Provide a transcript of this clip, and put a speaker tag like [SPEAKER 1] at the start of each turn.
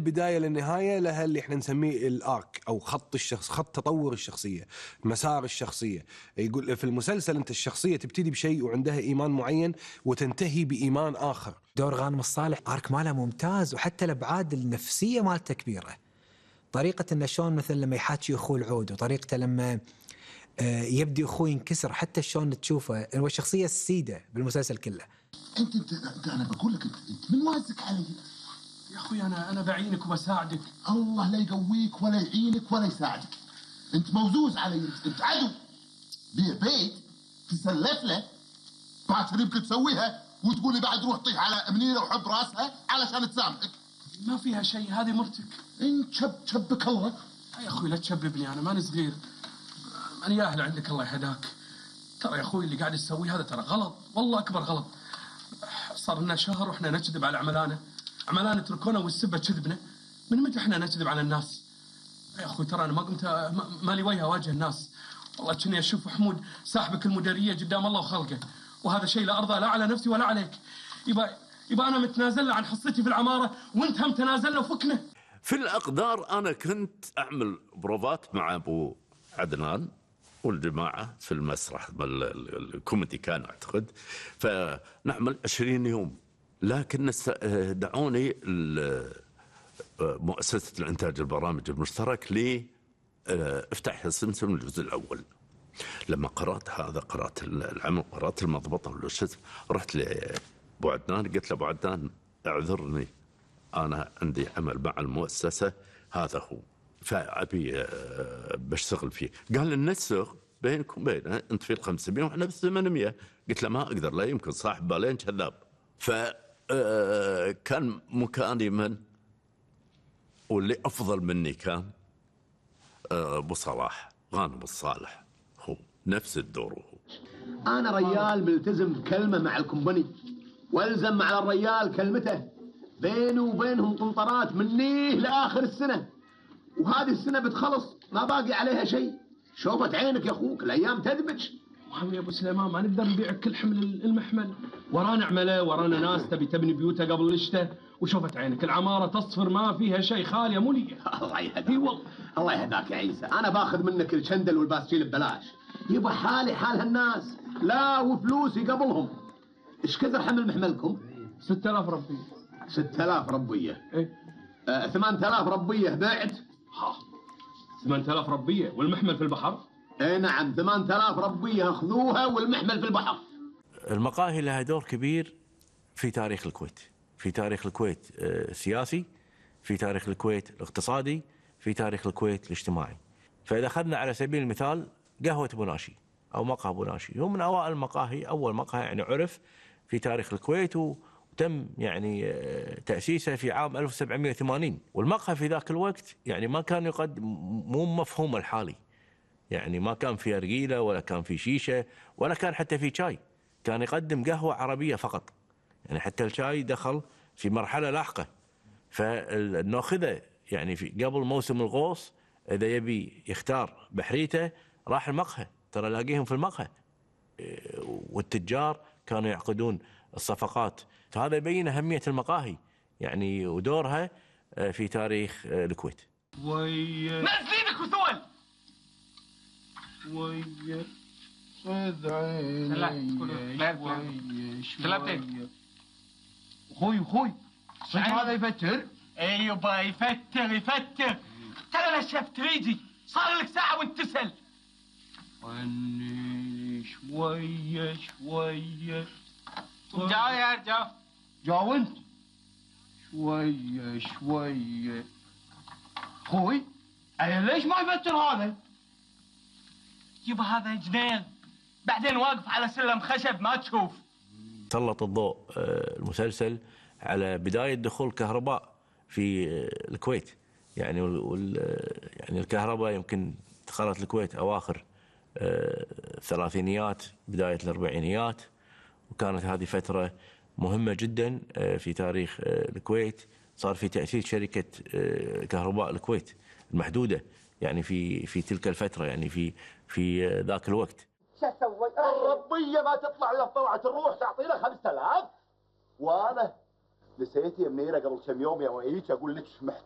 [SPEAKER 1] بداية للنهاية لها اللي احنا نسميه الارك او خط الشخص، خط تطور الشخصية، مسار الشخصية. يقول في المسلسل انت الشخصية تبتدي بشيء وعندها ايمان معين وتنتهي بايمان اخر.
[SPEAKER 2] دور غانم الصالح ارك ماله ممتاز، وحتى الابعاد النفسية مالته كبيرة. طريقة انه شلون مثلا لما يحاكي اخوه العود، وطريقته لما يبدي اخوه ينكسر، حتى شلون تشوفه هو الشخصية السيدة بالمسلسل كله.
[SPEAKER 3] انت انا بقول لك انت من وازك علي
[SPEAKER 4] يا اخوي. انا بعينك وبساعدك.
[SPEAKER 3] الله لا يقويك ولا يعينك ولا يساعدك. انت موزوز علي، انت عدو. بيع بيت تسلف له باكر يمكن تسويها وتقولي بعد روح طيح على منيره وحب راسها علشان تسامحك.
[SPEAKER 4] ما فيها شيء، هذه مرتك.
[SPEAKER 3] انت شبك الله.
[SPEAKER 4] يا اخوي لا تشببني، انا ماني صغير، ماني ياهل عندك. الله يهداك. ترى يا اخوي اللي قاعد تسويه هذا ترى غلط، والله اكبر غلط. صار لنا شهر واحنا نكذب على عملانا تركونا والسبه كذبنا. من متى احنا نكذب على الناس؟ يا اخوي ترى انا ما قمت مالي وجه اواجه الناس. والله كني اشوف حمود ساحبك المديريه قدام الله وخلقه، وهذا شيء لا ارضى لا على نفسي ولا عليك. يبقى انا متنازل له عن حصتي في العماره، وانت هم تنازل له وفكنا.
[SPEAKER 5] في الاقدار انا كنت اعمل بروفات مع ابو عدنان والجماعه في المسرح الكوميدي كان اعتقد، فنعمل 20 يوم. لكن دعوني مؤسسه الانتاج البرامج المشترك لي افتح السمسم الجزء الاول. لما قرات العمل، قرات المضبطه والشذ، رحت لابو عدنان قلت له ابو عدنان اعذرني، انا عندي عمل مع المؤسسه هذا هو، فابي بشتغل فيه. قال ننسق بينكم وبينه، انت في 500 واحنا في 800. قلت له ما اقدر، لا يمكن، صاحب بالين كذاب. فكان مكاني من واللي افضل مني كان ابو صلاح غانم الصالح، هو نفس الدور. هو
[SPEAKER 6] انا ريال ملتزم بكلمه مع الكومباني، والزم على الريال كلمته. بينه وبينهم قنطرات منيه لاخر السنه، وهذه السنه بتخلص ما باقي عليها شيء. شوفت عينك يا اخوك، الايام تدبج.
[SPEAKER 4] وهم يا ابو سليمان ما نقدر نبيع كل حمل المحمل، ورانا عمله، ورانا ناس تبني بيوتها قبل الشتاء. وشوفت عينك العماره تصفر ما فيها شيء، خاليه موليه.
[SPEAKER 6] الله يهداك. الله يهداك يا عيسى، انا باخذ منك الشندل والباسكيل ببلاش. يبقى حالي حال هالناس، لا وفلوسي قبلهم. ايش كثر حمل محملكم؟
[SPEAKER 4] 6000 ربيه.
[SPEAKER 6] 6000 ربيه؟
[SPEAKER 4] ايه
[SPEAKER 6] 8000 ربيه بعت؟
[SPEAKER 4] 8000 ربيه والمحمل في البحر؟
[SPEAKER 6] اي نعم، 8000 ربيه اخذوها والمحمل في البحر.
[SPEAKER 7] المقاهي لها دور كبير في تاريخ الكويت، في تاريخ الكويت السياسي، في تاريخ الكويت الاقتصادي، في تاريخ الكويت الاجتماعي. فإذا أخذنا على سبيل المثال قهوة بوناشي أو مقهى بوناشي، هو من أوائل المقاهي، أول مقهى يعني عرف في تاريخ الكويت، وتم يعني تأسيسه في عام 1780. والمقهى في ذاك الوقت يعني ما كان يقدم، مو مفهوم الحالي، يعني ما كان في أرجيلة ولا كان في شيشة ولا كان حتى في شاي، كان يقدم قهوة عربية فقط. يعني حتى الشاي دخل في مرحلة لاحقة. فالناخذة يعني في قبل موسم الغوص إذا يبي يختار بحريته راح المقهى، ترى لاقيهم في المقهى. والتجار كانوا يعقدون الصفقات. فهذا يبين أهمية المقاهي يعني ودورها في تاريخ الكويت.
[SPEAKER 4] نازلينك وثول
[SPEAKER 3] ويا خذ عيني شوية.
[SPEAKER 4] اخوي صدق هذا يفتر؟
[SPEAKER 8] ايوه يفتر. ترى نشفت ريجي، صار لك ساعة وانت تسأل.
[SPEAKER 3] عني شوية.
[SPEAKER 8] جاو يا رجال.
[SPEAKER 4] جاو انت.
[SPEAKER 3] شوية.
[SPEAKER 4] اخوي ليش ما يفتر هذا؟
[SPEAKER 8] يبا هذا جنين، بعدين واقف على سلم خشب ما تشوف.
[SPEAKER 7] سلط الضوء المسلسل على بداية دخول الكهرباء في الكويت. يعني يعني الكهرباء يمكن دخلت الكويت أواخر الثلاثينيات بداية الأربعينيات، وكانت هذه فترة مهمة جدا في تاريخ الكويت. صار في تأسيس شركة كهرباء الكويت المحدودة يعني في تلك الفترة، يعني في ذاك الوقت.
[SPEAKER 6] شو اسوي؟ الربيه ما تطلع الا طلعت الروح، تعطينا 5000. وانا نسيت يا منيره قبل كم يوم يا وعيك اقول لك محتاج